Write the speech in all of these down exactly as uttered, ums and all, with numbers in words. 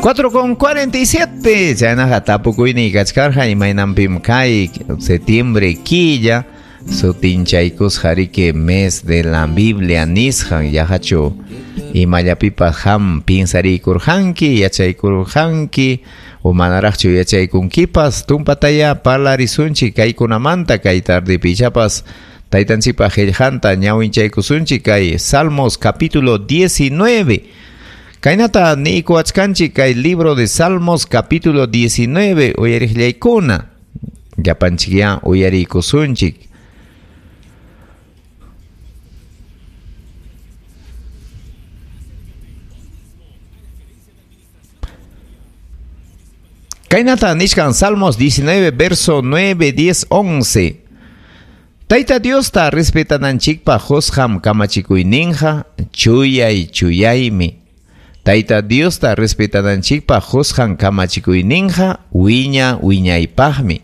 cuatro con cuarenta y siete. Chaynaqa tapukuyniy kachkarqa imaynanpim kay septiembre killa sutinchaykusqa riki mes de la Biblia nisqan yaqachu imallapipas qam piensariykurqanki yachaykurqanki o manaraqchu yachaykunkipas tumpataya parlarisunchik kaykunamanta kay tardepi ichapas taytanchikpa qillqanta ñawinchaykusunchik kay Salmos capítulo diecinueve. Kaynata niykuwachkanchik kay libro de Salmos capítulo diecinueve uyariqllaykuna llapanchikya uyariykusunchik. Kaynata nishkan Salmos diecinueve verso nueve, diez, once. Tayta Diosta respetananchikpa husqam kamachikuyninqa chuyay chuyaymi. Tayta Diosta respetananchikpa husqan kamachikuyninqa wiña wiñaypaqmi.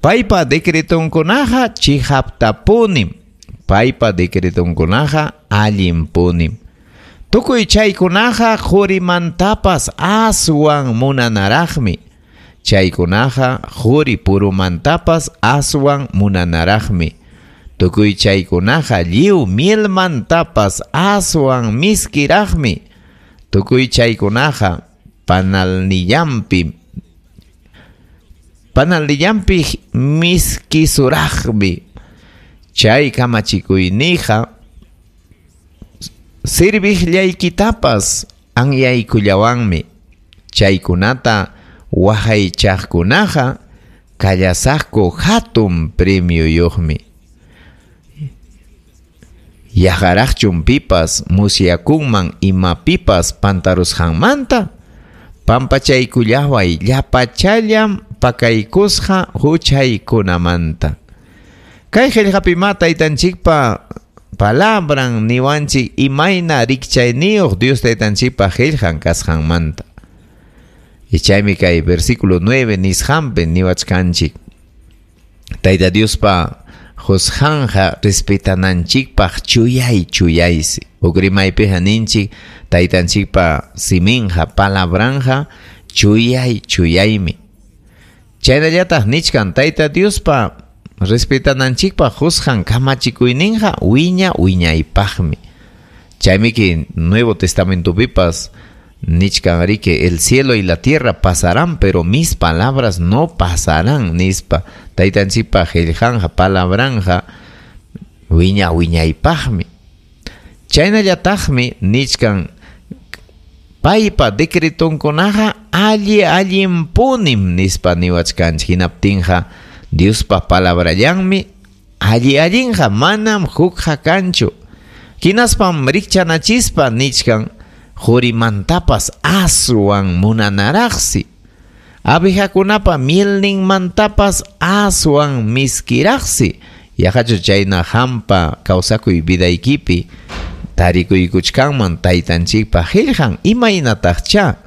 Paypa decretonkunaqa chihaptapunim. Paypa decretonkunaqa allinpunim. Tukuy chaykunaqa qurimantapas aswan munanaraqmi. Chaykunaqa quri purumantapas aswan munanaraqmi. Tukuy chaykunaqa lliw mielmantapas aswan miskiraqmi. Tukuy chaykunaqa panalnillanpi panalnillanpi miskisuraqmi. Chay kamachikuyniqa serviqllaykitapas anyaykullawanmi. Chaykunata waqaychaqkunaqa kallasaqku hatun premioyuqmi. Yaqaraqchum pipas musyakunman imapipas pantarusqanmanta pampachaykullaway llapachallam pakaykusqa huchaykunamanta. Kay qillqapima taytanchikpa palabran niwanchik imayna rikchayniyuq Dios taytanchikpa qillqan kasqanmanta. Y chaymi kay versículo nueve nisqanpi niwachkanchik. Tayta Diospa husqanja respetananchikpaq chuyay chuyaysi. Huk rimaypiqa ninchik taytanchikpa siminqa palabranja chuyay chuyaymi. Chaynallataq nichkan Tayta Diospa respetananchikpaq husqan kamachikuyninqa wiña wiñaypaqmi. Chaymiki Nuevo Testamentopipas nichkan riki el cielo y la tierra pasarán, pero mis palabras no pasarán, nispa. Taytanchikpa qillqanja palabranja wiña wiñaypaqmi. Chaynallataqmi nichkan paypa decretonkunaqa alli allinpunim nispa niwachkanchik. Hinaptinqa Diospa palabrallanmi alli allinqa manam hukqa kanchu. Hinaspam rikchanachispa nichkan qurimantapas aswan munanaraqsi. Abejakunapa mielninmantapas aswan miskiraqsi. Yaqachu chayna hampa kawsakuy vidaykipi tarikuykuchkanman taytanchikpa qillqan imaynataqcha.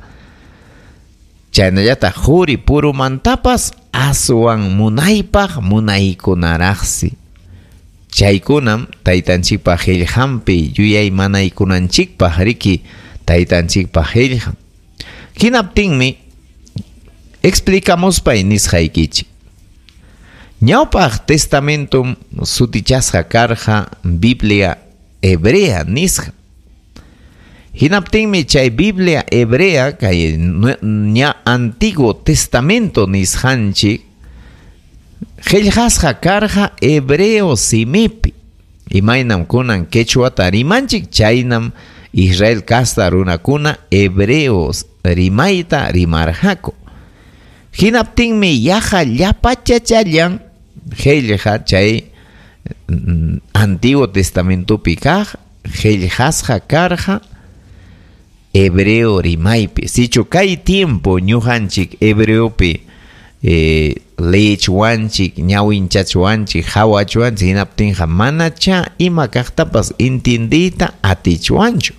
Chaynallataq quri purumantapas aswan munaypaq munaykunaraqsi. Chaykunam taytanchikpa qillqanpi yuyaymanaykunanchikpaq riki taytanchikpa qillqan. Hinaptinmi explicamuspay nisqaykichik. Ñawpaq testamentum sutichasqa karqa Biblia hebrea nisqa. Hinaptinmi chay Biblia hebrea kay ña Antiguo Testamento nisqanchik qillqasqa karqa hebreo simipi. Imaynam kunan quechuata rimanchik chaynam Israel casta runakuna hebreos rimayta rimarqaku. Hinaptinmi yaqa llapachachallan qillqa chay Antiguo Testamentopi kaq qillqasqa karqa hebreo rimaypi. Sichu kay tiempo ñuqanchik hebreopi eh, leechwanchik, ñawinchachwanchik, hawachwanchik, hinaptinqa manacha ima kaqtapas intindiyta atichwanchu.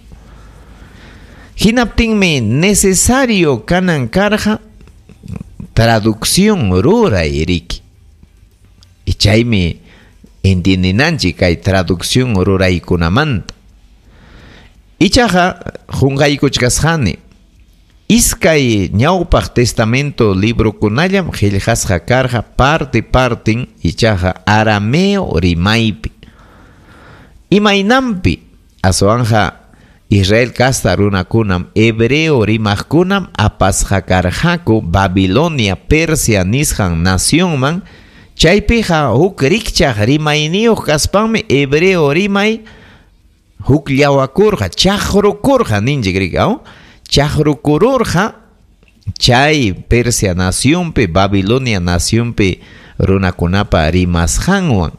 Hinaptinmi necesario kanan karqa traducción ruray riki. Y chaymi entiendinanchik kay traducción ruraykunamanta. Ichaqa qunqaykuchkasqani. Iskay ñawpaq testamento librokunallam qillqasqa karqa parte partin ichaqa arameo rimaypi. Imaynanpi aswanja Israel kasta runakunam hebreo rimaqkunam apasqa karqaku Babilonia Persia nisqan nacionman chaypiqa huk rikchaq rimayniyuq kaspanmi hebreo rimay hukllawakurqa chaqrukurqa ninchik rika chaqrukururqa chay Persia nacionpi Babilonia nacionpi runakunapa rimasqanwan.